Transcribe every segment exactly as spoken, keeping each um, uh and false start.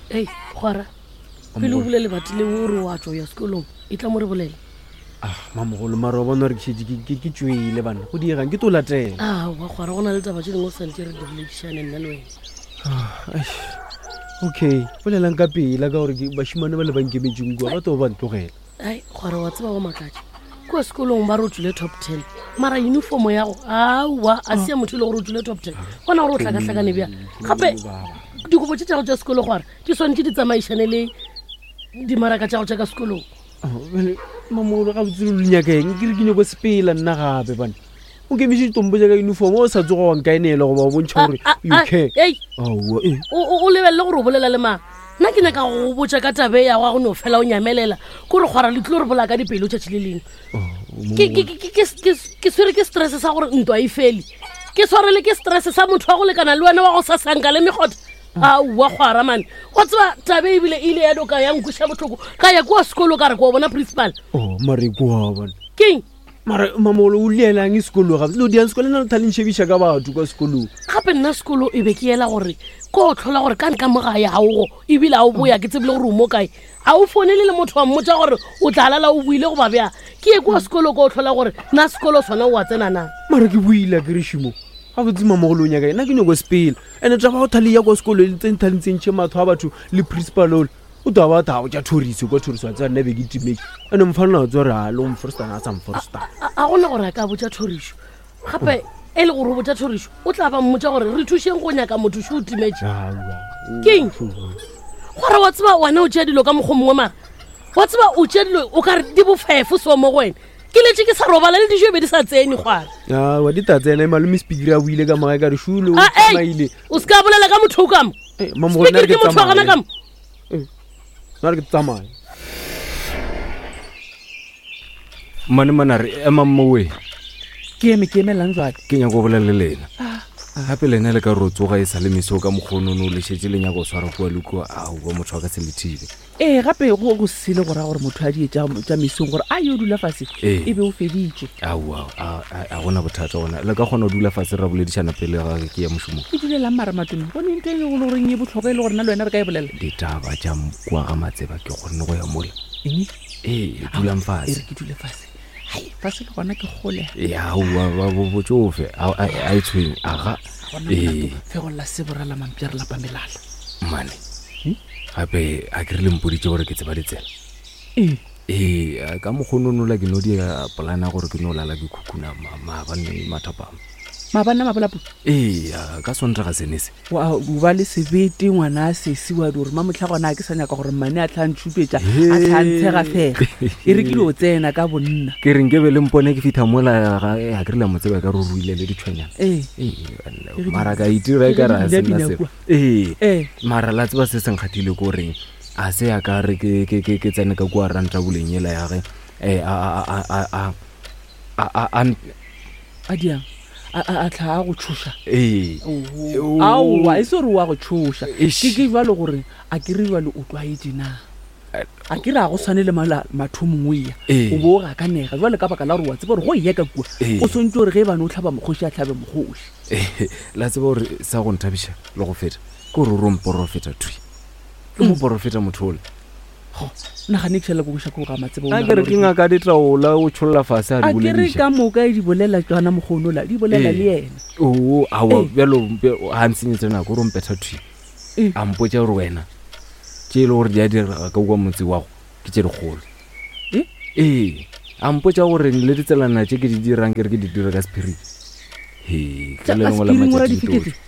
Ei, kgwara pele o bule lebati leo o re wa tšwa ya sekolong e tla mo re bolela. Ah, mamogolo mara wa bona gore ke šetse ke- ke ke tswele bana go diegang ke to latela. Aowa kgwara go na le taba tše dingwe o santse re di boledišane nna le wena. Ah, eish. Okay, bolelang ka pela ka gore ke- bašemane ba le ba nkemetseng kua ba to ba ntlogela. Ai kgwara wa tseba go makatša kua sekolong ba re o tswile top ten mara uniformo yago aowa a se ya motho e le gore o tswile top ten gona gore o tlhakatlhakane bjang gape dikobo tše tšago tša sekolo gore di swanetše di tsamaišane le dimaraka tša go tša ka sekolong. Oh, bjale, mamogolo ga botse le nyakeng ke re ke nyako sepela nna gape bana o nkemiše ditompo tša ka uniform o sa tsoga wa nkaenela goba o bontšha gore Ah, you ah, care. ei Aowa, eh. o o- o lebelele gore o bolela le mang. Nna ke nyaka go botša ka tabe ya go no fela o nyamelela ko re kgwara le tlilo re bolaya ka dipelo tšatši le lengwe. Oh, Ke- ke- ke- ke- ke- ke swere ke stress sa gore ntwa e fele ke tshwarele ke stress sa motho wa go lekana le wena wa go sasanka le mekgotha. Aowa kgwara mane wa tseba tabe ebile e ile ya doka ya nkweša botlhoko ka ya kua sekolo ka re ko bona principal. Oh, mare kua bana Keng mara mamogolo o lielang e sekolo gape lo diang sekolo nna le thale ntšhebiša ka batho kwa sekolong. Gape nna sekolo e be ke ela gore ko o tlhola gore ka nka mo gae gaogo ebile a o boya ke tsebile gore o mo kae a o founele le motho wa mmotsa gore o tla lala o buile goba bjang ke ye kua sekolo ko o tlhola gore na sekolo sona o a tsena na. Mara ke buile ke re šimo ga botse mamogolo o nyaka nna ke nyako sepela and-e taba go thale ya kwa sekolo le tse nthalentsentšhe matho a batho le principal ole o tla ba tha go tša thoriso kwa thoriso a tseba nna be ke timetse and-e mfanela wa tse gore a le o mforstana a sa mforstana. A a gona gore a ka botša thorišo gape e le gore o botša thorišo o tla ba mmotša gore re thušeng go nyaka motho šo o timetse. Keng? Gore wa tseba wena o tšea dilo ka mokgwa mongwe mara wa tseba o tšea dilo o ka re di bofefo so mo go wena ke letse ke sa robala le dijo e be di sa tsene kgwara. Wa di ta tsena malome speaker a buile ka mogae ka re šule o Ah, ei, tsamaile. O se ka bolela ka motho o ka mo. Eh, mamogolo, nna re Speaker ke ke motho wa gana tsamaye. ka mo. Nna re ke tsamaye. Mane mana re emang mowe. Ke eme ke emelang jwale? Ke nyako go bolela le lena gape lena le ka re o tsoga e sa le meso ka mokgonono le šetse le nyaka go swara kua le kua aowa motho a ka se le thibe. Ee gape go go sele go raya gore motho a die tša tša mesong gore a yo dula fase Ee. e be o feditše. Aowa a a gona bothata gona le ka kgona go dula fase ra boledišana pele ga ke ya mošomong. O dulelang mara matome go ne ntho e le goreng e botlhokwa e le gore nna le wena re ka e bolela. Ditaba tša kua ga matseba ke kgonne go ya mola. Eng? Ee dulang E re fase. ke dule fase. Hai fase le gona ke kgolega. Ya aowa botsofe a a e tshwenye aga. Gona Ee molato fegolla sebora la mampša re lapa melala. Mane gape a ke re le mpoditše gore ke tseba ditsela. Ee. Ee a ka mokgononola ke no dia polana gore ke no lala ke khukhuna ma- maabane mathapama. Maabane a mabolapu? Ee a ka sontaga sene se. Wa o ba le sebete ngwana a sesi wa di gore mamotlha gona a ke sa nyaka gore mmane a tla ntšhupetša a tla ntshegafega e re ke dio tsena ka bonna. Ke re nkebe le mpone ke fitlha mola ga ga ke re la mo tseba ka re o ruile le ditšhwenyana. Ee. Ee E re mara di- ka itira e e ka re re a di sena bina-bina selo. kua. Ee Ee. mara la tseba se se nkgathile ko goreng a se ya ka re ke ke ke ke tsene ka kua ranta boleng ela ya ge eh a a a a a a a a A diang a a a tla a go tshoša. Ee. Oho. Aowa e se gore wa go tshoša. Eish. Ke ke jwalo gore a ke re jwale o tlwaetse na. A ke re a go tshwane le mala mathomong o eya. Ee. O bo o gakanega jwale ka baka la gore wa tseba gore go eya ka kua Ee. o swantse gore ge e bane o tlhaba mokgoši a tlhabe mokgoši. Ee, la tseba gore sa go nthabiša le go feta ke gore o re mporofeta thwi ke moporofeta motho ole. Ho, nagane ke šala ko koša ko ga matseba o A ke re nagana ke gore ngaka ditaola o tšholla fase a a di ke re bolediša. ka moka e di bolela tsona mokgonola di bolela Ee. le yena. Oo aowa Ee. bjalo ga ntshenyetse nako o re mpetha thwi. Ee. A mpotša gore wena tše e le gore di a direga ka kua motse wago ke tše dikgolo. Ee? Ee a mpotša gore le ditselana tše ke di dirang ke re ke di dira ka sephiri. He Tša ka le ka lengwe la sephiring o ra matšatši dife ke ke tlo-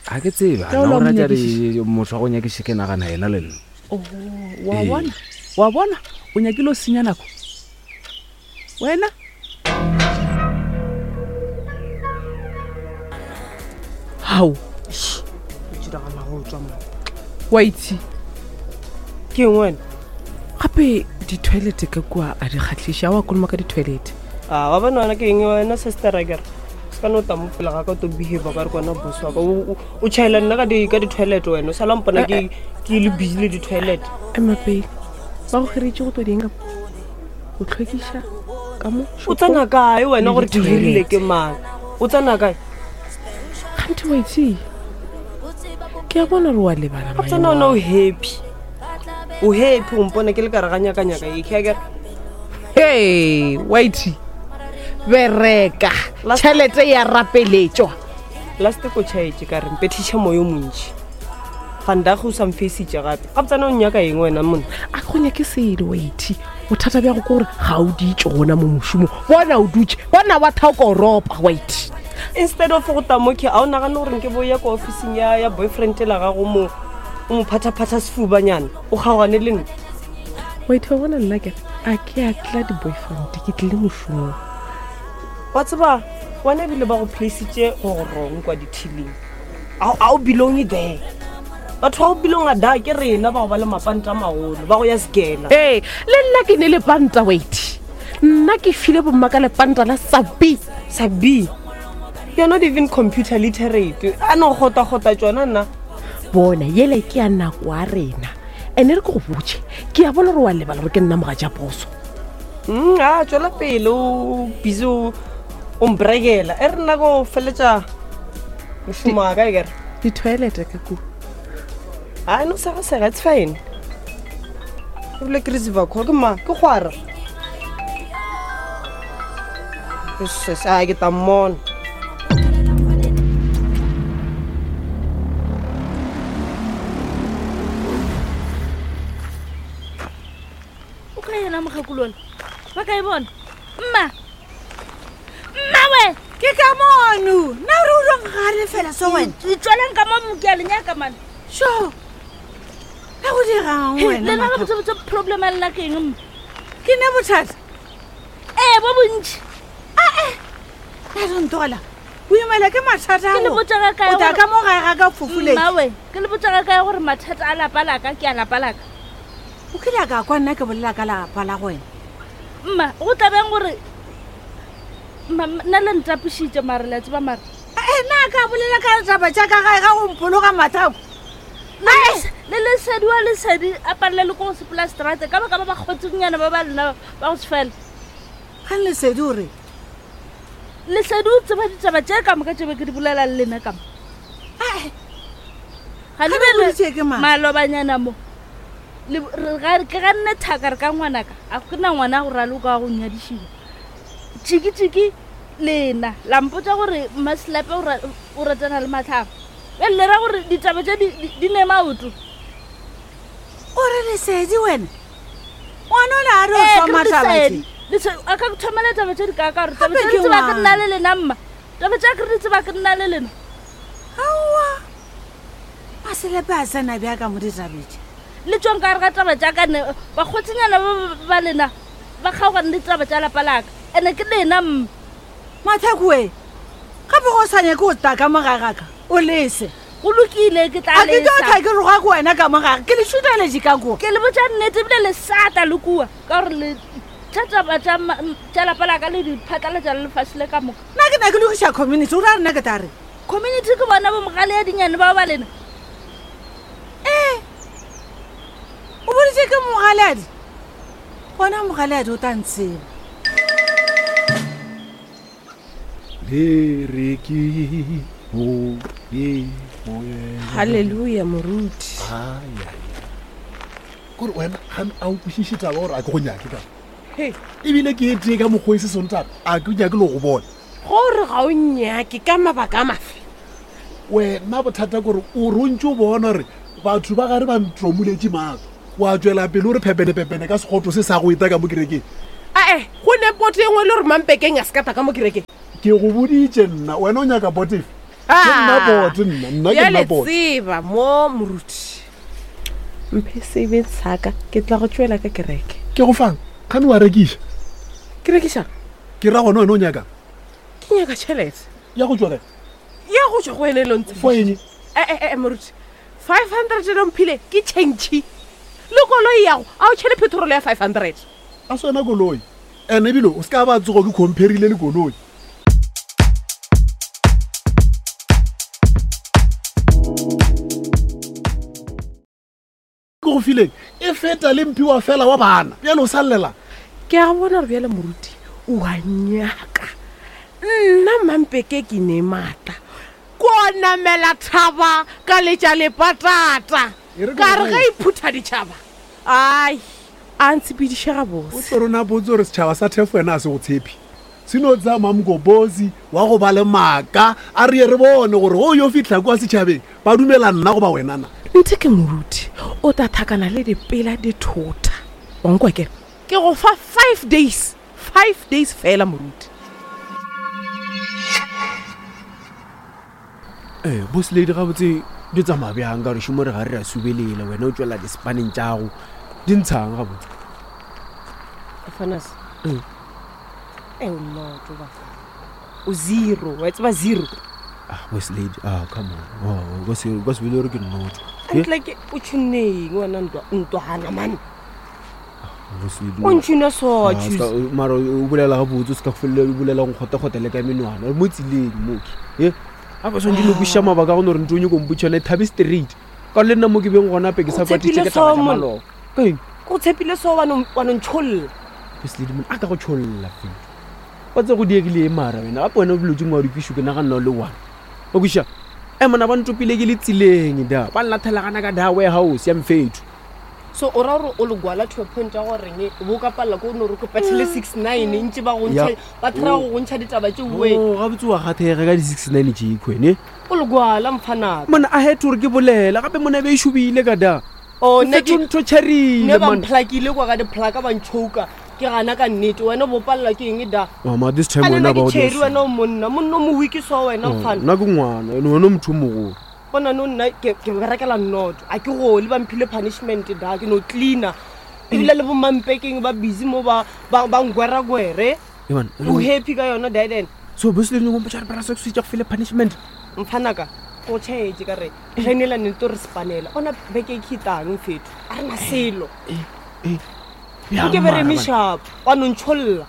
Ga ke tsebe, Tša o a na la o mo rata nyakišiša? re motho wa go nyakiša ke nagana yena le nna. Oh, wa Ee. bona wa bona o nyakile o senya nako wena. Hao wa itse Ke eng wena? Gape di-toilet ka kua a di kgatlhiše a wa koloma ka di-toilet. A wa bona wena ke eng wena sister a kere se ka no tla mo pele ga ka o to behave ka re ke wena boss wa ka. O- o o tšhaela nna ka di ka di-toilet wena o sala mpona ke ke le busy le di-toilet. Ema pele ba go kgeretše go tlo dieng ka mo go tlhwekiša ka mo O tsena kae wena Le gore ke hirile di-toilet. ke mang? O tsena kae? Kganthe wa itse Ke a bona gore wa lebala Ga tsena ona o happy. O happy o mpone ke le ka re ga nyaka-nyaka e ke akere. Hey, whitey. Bereka. Last- Tšhelete ya rapeletšwa. Last ko tšhaetše ka re mpethiša moyo o montši. Vandag o sa mfeisitše gape. Ga tsena o nyaka eng wena monna? A go nyake selo whitey. Bothata bja go ke gore ga o ditše gona mo mošomong. Bona o dutše, bona wa thaoka o ropa whitey. Instead of go tamoke a o nagane gore nke bo ya ko officing ya ya boyfriend la gago mo o mo phathaphatha sefubanyana o kgaogane le nna. Whitey wa bona nna ke a ke a tla di-boyfriend ke tlile mošomong. Wa tseba wena ebile ba go placeitše go go wrong kwa dithiling. A a o belong there. Batho ba o belong a da ke rena ba go ba le mapanta a magolo ba go ya sekela. Ee, le nna ke ne lepanta whitey. Nna ke file bomma ka lepanta la sabi. Sa B. You're not even computer literate. A no gota-gota tšona nna. Bona yele ke ya nako ya rena. Ene re ke go botše, ke a bona gore wa lebala gore ke nna mogatša poso. Mm, a tswela pele o busy o o mbrekela. E re nna ko feletša mošomo wa ka e kere. Di-toilet ka kua. A no sega-sega, it's fine. Ebile ke receiver call ke ma ke kgwara. Yes, a ke tla mmona. O ka yena mokgakolola ba ka e bona mma mma we Ke ka mono. Nna o re o rong gare fela so wena. itsweleng ka mo ke a le nyaka mane Sho. Ka go dirang wena? lena Mathabo? gabotsebotse problem a lela ke eng mma Ke ne bothata. ee bo bontši Ka re ntola. O imela ke mathata Ke le ao. botša ga kae O tla gore- ka mo gae ga ka fofuleng. mma we ke le botša ga kae gore mathata a lapa laka ke a lapa laka O kile a ka kwa nna ke bolela ka lapa la go wena. mma go tlabeng gore mma nna le ntapišitše mare le a tseba mare Eh nna ka bolela ka taba tša ka gae ga go mpologa mathabo. Le les- le lesedi wa lesedi a palela le ko go sepela strate ka baka ba ba kgotsengnyana ba ba lena ba go se fela Ga lesedi o re lesedi o tseba ditaba tše ka moka tše be ke di bolela le lena ka mo "Ae, ga le Ga be le boditše ke mang? malobanyana mo Le- re ga- ke ganne thaka re ka ngwanaka a ke na ngwana a go raloka wa go nyadišiwa tšiki-tšiki lena la mpotsa gore mmaselape o ra- o ratana le matlhabo bjale le ra gore ditaba tše di- di di ne maoto o re lesedi wena. Ngwana o le a re o Ee, ke re thoma taba lesedi. tše. Lese- a ka thomela taba tše di ka ka gore taba Gape tše ke di tseba ke nna ngwana. le lena mma taba tše ke re di tseba ke nna le lena Aowa. Maselepe a tsena bja ka mo ditabeng. le tswang ka gare ga taba tša ka ne bakgotsinyana ba ba- ba lena ba kgaogane le taba tša lapa laka ande ke lena mma Mathako we. Gape go sa nyake go tla ka mo gae ga ka. O lese. go lokile ke tla A ke tlo lesa. tla ke roga ko wena ka mo gae. Ke le šuteletše ka kua. ke le botša nnete ebile le sata le kua ka gore le tša taba tša ma- tša lapa laka le di phatlalatša le lefase le ka moka Nna ke na ke lokiša community o ra re nna ke tla reng? community ke bona bo mogale ya dinyane bao ba lena Ee. O boditše ke mogaleadi. Gona mogaleadi o tla ntseba. Le re ke mo ye moyeng. Halleluja moruti. Ai, ai, ai. Kore wena gane a o kwešiše taba gore a ke go nyake ka He, ebile ke e tee ka mokgwa e se sontata a ke nyake le go bona gore ga o nyake ka mabaka a mafe. Wena bothata kore o rontse o bona gore batho ba gare ba ntromoletše maatla wa tswela pele o re phepenepepene ka sekgoto se sa go eta ka mo kerekeng. Ae, go ne poto e nngwe le gore mampekeng a se ka ta ka mo kerekeng. Ke go boditše nna wena o nyaka botefe ke nna bote nna nna ke nna Bjale bote. tseba mo moruti. Mphe sebeng saka ke tla go tswela ka kereke. Ke go fang gane wa rekiša. Ke rekišang? Ke ra gona wena o nyakang Ke nyaka tšhelete. Ya go tswa kae? Ya go tswa go wena e le ntse. For eng? Eh eh moruti. five hundred e mphile ke change. Le koloi yago a o tšhele petrol ya five hundred. A se wena koloi and ebile o se ka ba tsogo ke comparile le koloi. Ke go fileng e feta le mphiwa fela wa bana bjale o sa llela. Ke a bona gore bjale moruti o a nyaka. Nna mampeke ke ne maatla. Ko Ka namela thaba ka letša lepatata. Ka re ge e phutha ditšhaba. Ai, a ntshepediše gabotse. O tlo rona botse gore setšhaba sa Thefo wena a se go tshepe. Se no tsaya Mamgobozi wa go ba le maaka a re ye re bone gore go yo fihla kua setšhabeng ba dumela nna goba wena na. Nthe ke moruti o tla thakana le dipela dithota. Wa nkwa ke? Ke go fa five days. Five days fela moruti. Eh, boss lady gabotse di tsamaya bjang ka gore šomo re ga re a subelela wena o tswela dispaneng tšago di ntshang gabotse. Fanas. E o noto ba. O zero, wa tseba zero. Ah, boss lady, ah come on. Oh, o se o se bile gore ke noto. Ntle ke o tshuneng wena ntwa ntwana man. Boss lady. O ntshuna so choose. Mara o bolela gabotse o se ka felela o bolela go kgote-kgote le ka menwana. Mo tseleng mo ke. Eh? A ba swantse le buša mabaka go no re ntho o nyako mpotša yona e thabe straight. Ka le nna mo ke beng gona pe ke sa kwatitše ke taba tša maloba. Ka eng? Go tshepile so wa no wa no ntsholla. Boss lady man a ka go tsholla fela. Wa tse go diegile e mara wena gape wena o dilo tse ngwe wa di kwišo ke naganna o le one. O kwiša? E mona ba ntopile ke le tseleng da. Ba nlathelagana ka da warehouse ya mfetho. So o ra gore o le gwala to a point ya goreng bo ka palela ko no re ko patlhele six nine ntse ba go ntsha ba try go go ntsha ditaba tše we. Oh, gabotse wa gathega ka di six nine tše khwene. O le gwala mfanaka. Mona a het gore ke bolela gape mona be e shubile ka da. Oh, ne ke ntho tšharile ne ba mplakile kwa ka diplaka ba ntshoka. Ke gana ka nnete wena bo palela ke eng da. Mama this time wena ba o tšheri wena o monna monna mo wiki so wena mfana. Nna ke ngwana wena motho o mogolo. Bona no nna ke ke berekela noto a ke gole ba mphile punishment da ke no cleaner ebile le bo mampekeng ba busy mo ba ba ba ngwera gwere o happy ka yona then so boss le ngo mpotsa re bara se go file punishment mfanaka go tšhetse ka re re nela ne to re spanela ona beke ke tang mfetho a re na selo eh ke be re mishap wa no ntsholla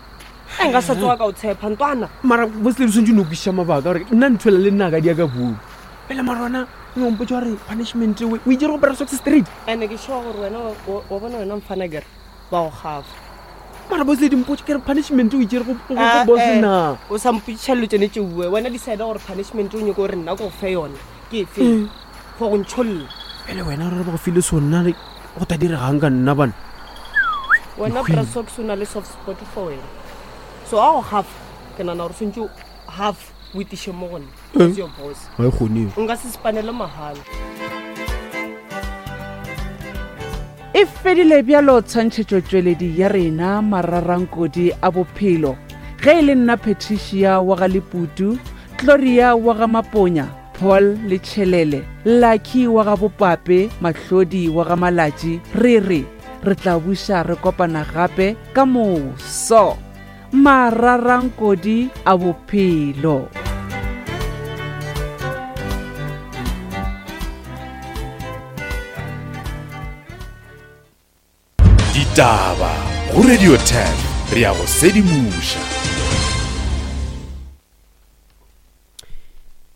e nka sa tsoga ka o tshepa ntwana mara boss le swantse no kwiša mabaka gore nna nthwela le nna ka dia ka bua pele marona o mpotsa gore punishment we o itse go bara socks street ene ke sure gore wena wa bona wena mfana kere ba go gafa mara boss lady mpotsa ke re punishment o itse go go boss na o sa mpotsa lo tsene tšeue wena decide gore punishment o nyoko gore nna go fe yona ke efe go go ntsholla pele wena re ba go file sona re go ta diregang ka nna bana wena bra socks o na le soft spot for wena so a go gafa ke nana gore swantse half o itiše mo go nna as your boss ga e kgone nka se spanele mahala. E fedile bjalo tshwantšhetšotšweledi ya rena mararankodi a bophelo. Ge e le nna Patricia wa ga Leputu, Gloria wa ga Maponya, Paul le Tšhelele, Lucky wa ga Bopape, Mahlodi wa ga Malatši, re re re tla buša re kopana gape ka moso. Mararankodi a bophelo. Ditaba go Radio ten re ya go sedimoša.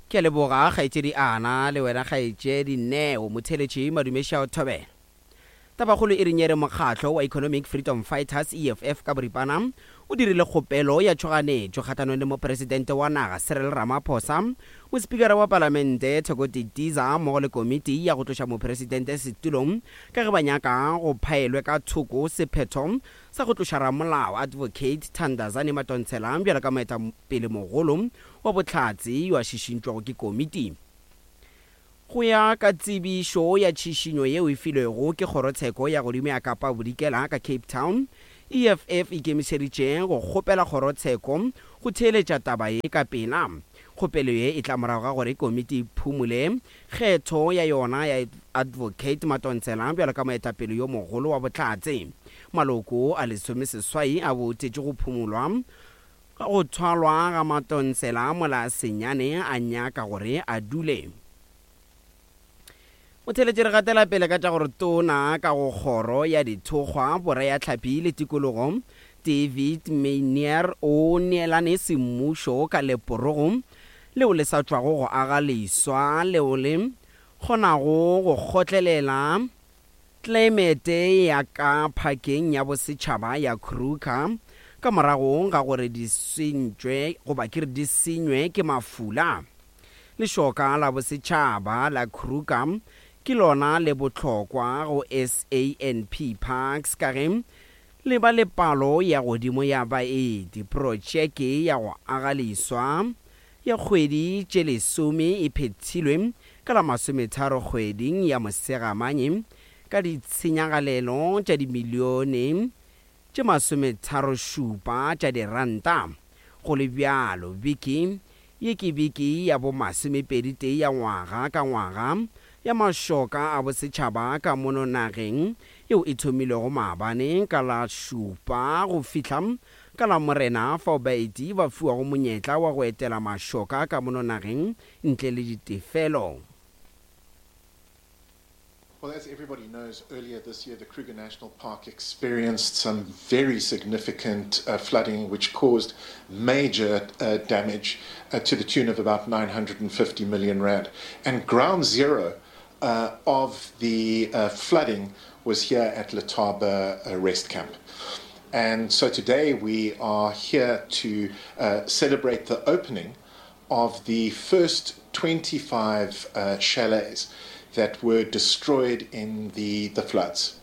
Ke a leboga kgaetšedi Ana le wena kgaetšedi Neo motheletši madumeša o thobela. Tabakgolo e re nyere mokgatlo wa Economic Freedom Fighters E F F ka boripana o dirile kgopelo ya tšhoganetšo kgathanong le mopresidente wa naga Cyril Ramaphosa, mospikara wa palamente Thoko Didiza mmogo le komiti ya go tloša mopresidente setulong ka ge ba nyaka go phaelwe ka thoko sephetho sa go tloša ramolao Advocate Thandazani Madonsela bjalo ka moetapele mogolo wa bohlatse yo a šišintšwego ke komiti. Go ya ka tsebišo ya tšhišinyo yeo e filwego ke kgorotsheko ya godimo ya Kapa Bodikela ka Cape Town, E F F e ikemišeditše go kgopela kgorotsheko go theeletša taba ye ka pela. Kgopelo ye e tla morago ga gore komiti e phumule kgetho ya yona ya Advocate Madonsela bjalo ka moetapele yo mogolo wa bohlatse. Maloko a lesomeseswai a boutetše go phumulwa go thwalwa ga Madonsela mola senyane a nyaka gore a dule. Motheletši re gatela pele ka tša gore tona ka go kgoro ya dithokgwa bora ya tlhapi le tikologo David Maynier o neelane semmušo ka leporogo leo le sa tšwago go aga leswa leo le kgonago go kgotlelela tlaemete ya ka phakeng ya bosetšhaba ya Kruger ka morago ga gore di sentšwe goba ke re di senywe ke mafula. Lešoka la Bosetšhaba la Kruger ke lona le bohlokwa go SANP Parks ka ge le ba le palo ya godimo ya baeti. Protšeke ya go aga leswa ya kgwedi tše lesome e phethilwe ka la masometharo kgweding ya Mosegamanye ka ditshenyagalelo tša dimilione tše masometharošupa tša diranta. Go le bjalo, beke ye ke beke ya bomasomepeditee ya ngwaga ka ngwaga ya mašoka a bosetšhaba ka mono nageng, yeo e thomilego maabane ka la šupa go fihla ka Lamorena, fao baeti ba fiwago monyetla wa go etela mašoka ka mono nageng ntle le ditefelo. Well, as everybody knows, earlier this year the Kruger National Park experienced some very significant uh, flooding, which caused major uh, damage uh, to the tune of about nine hundred and fifty million rand. And ground zero, uh, of the, uh, flooding was here at Letaba, uh, Rest Camp. And so today we are here to, uh, celebrate the opening of the first twenty-five, uh, chalets that were destroyed in the, the floods.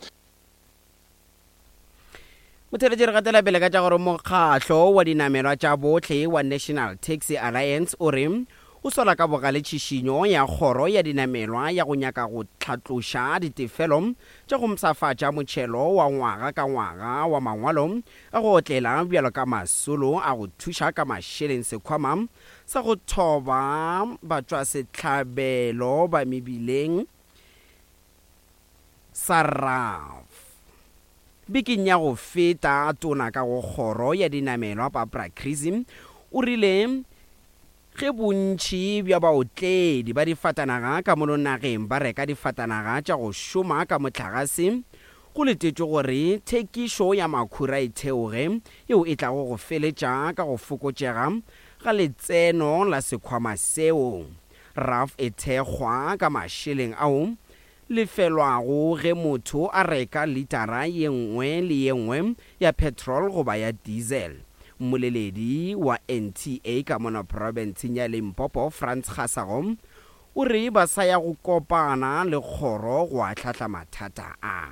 Motheeletši, re gatela pele ka tša gore mokgahlo wa dinamelwa tša bohle wa National Taxi Alliance o re o sola ka bogale tšhišinyo ya kgoro ya dinamelwa ya go nyaka go hlatloša ditefelo tša go mpshafatša motšhelo wa ngwaga ka ngwaga wa mangwalo a go otlela bjalo ka masolo a go thuša ka mašeleng sekhwama sa go thoba batšwasehlabelo ba mebileng sa R A F. Bekeng ya go feta, tona ka go kgoro ya dinamelwa Barbara Creecy o rile ge bontši bja baotledi ba difatanaga ka mono nageng ba reka difatanaga tša go šoma ka mohlagase, go letetšwe gore thekišo ya makhura e theoge, yeo e tlago go feletša ka go fokotšega ga letseno la sekhwama seo. R A F e thekgwa ka mašeleng ao lefelwago ge motho a reka litara ye nngwe le ye nngwe ya petrol goba ya diesel. Mmoleledi wa N T A ka mono profenseng ya Limpopo, Frans Kgasago, o re ba sa ya go kopana le kgoro go ahlahla mathata a.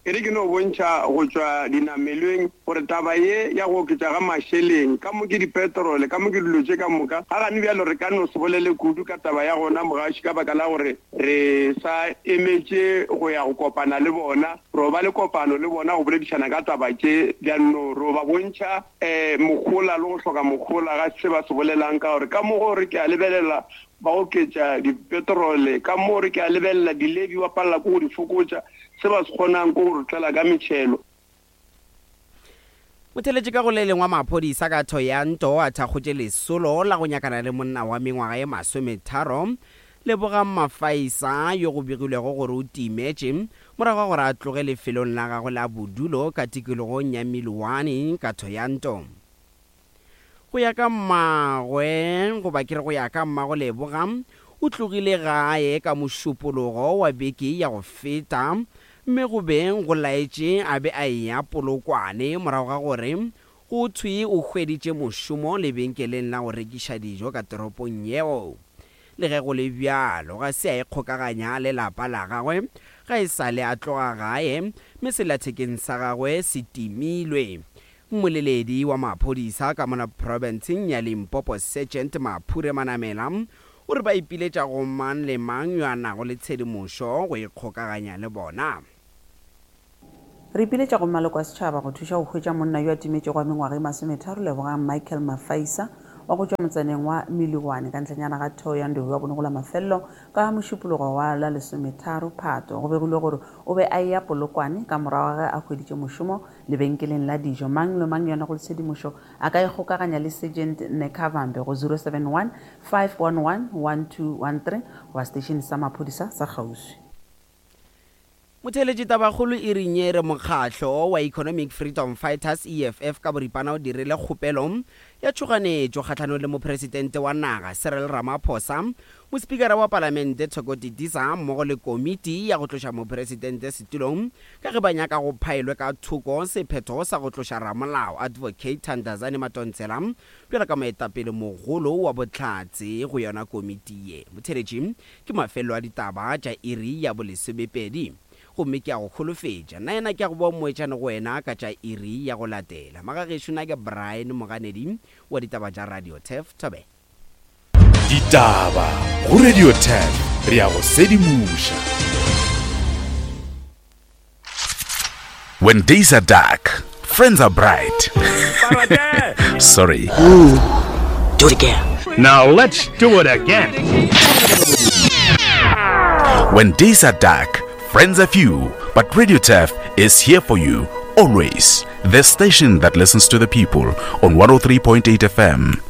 E re ke no bontšha go tšwa dinamelweng gore taba ye ya go oketša ga mašeleng ka mo ke dipetrole, ka mo ke dilo tše ka moka, ga gane bjalo re ka no se bolele kudu ka taba ya gona mogaši ka baka la gore re sa emetše go ya go kopana le bona, ro ba le kopano le bona go boledišana ka taba tše bjano, ro ba bontšha, eh, mogola le go hloka mogola ga se ba se bolelang, ka gore ka mo gore ke a lebelela ba oketša dipetrole, ka mo re ke a lebelela dilebi ba palela ko go di fokotša, se ba se kgonang ko go re tlela ka metšhelo. Motheeletši ka go le lengwe wa maphodisa ka Thohoyandou a thakgotše lesolo la go nyakana le monna wa mengwaga ye masometharo, Lebogang Mafaisa, yo go begilwego gore o timetše morago ga gore a tloge lefelong la gagwe la bodulo ka tikologong ya Miloane ka Thohoyandou. Go ya ka mmagwe, goba ke re go ya ka mmago Leboga, o tlogile gae ka mošupologo wa beke ya go feta, mme go beng go laetše a be a eya Polokwane morago ga gore go thwe o hweditše mošomo lebenkeleng la go rekiša dijo ka toropong yeo. Le ge go le bjalo, ga se a ikgokaganya le lapa la gagwe ga e sa le a tloga gae, mme sellathekeng sa gagwe se timilwe. Mmoleledi wa maphodisa ka mona profenseng ya Limpopo, Sergeant Maphure Manamela, o re ba ipiletša go mang le mang yo a nago le tshedimošo go ikgokaganya le bona. Re ipiletša go maloko a setšhaba go thuša go hwetša monna yo a timetšego wa mengwaga e masometharo, Lebogang Michael Mafaisa, wa go tšwa motsaneng wa Miloane ka ntlenyana ga Thohoyandou wa bone go la mafelelo ka mošupologo wa la lesometharo Phato. Go begilwe gore o be a eya Polokwane ka morago ga ge a hweditše mošomo lebenkeleng la dijo. Mang le mang yo a nago le tshedimošo a ka ikgokaganya le Sergeant Nekavambe go zero seven one, five one one, one two one three goba station sa maphodisa sa kgauswi. Motheeletši tabakgolo e reng e re mokgatlo wa Economic Freedom Fighters, E F F, ka boripana o dirile kgopelo ya tšhoganetšo kgahlanong le mopresidente wa naga Cyril Ramaphosa, mospikara wa palamente Thoko Didiza mmogo le komiti ya go tloša mopresidente setulong ka ge ba nyaka go phaelwe ka thoko sephetho sa go tloša ramolao Advocate Thandazani Madonsela bjalo ka moetapele mogolo wa bohlatse go yona komiti ye. Motheeletši ke mafelelo a ditaba tša iri ya bolesomepedi. Gomme ke a go holofetša, nna yena ke a go boa moetšane go wena ka tša iri ya go latela. Magagešo, nna ke Brian Moganedi wa ditaba tša Radio Turf. Thobela. Ditaba go Radio Turf, re a go sedimoša. When days are dark, friends are bright. Sorry. Ooh, do it again. Now let's do it again. When days are dark, friends are few, but Radio Turf is here for you always. The station that listens to the people on one oh three point eight F M.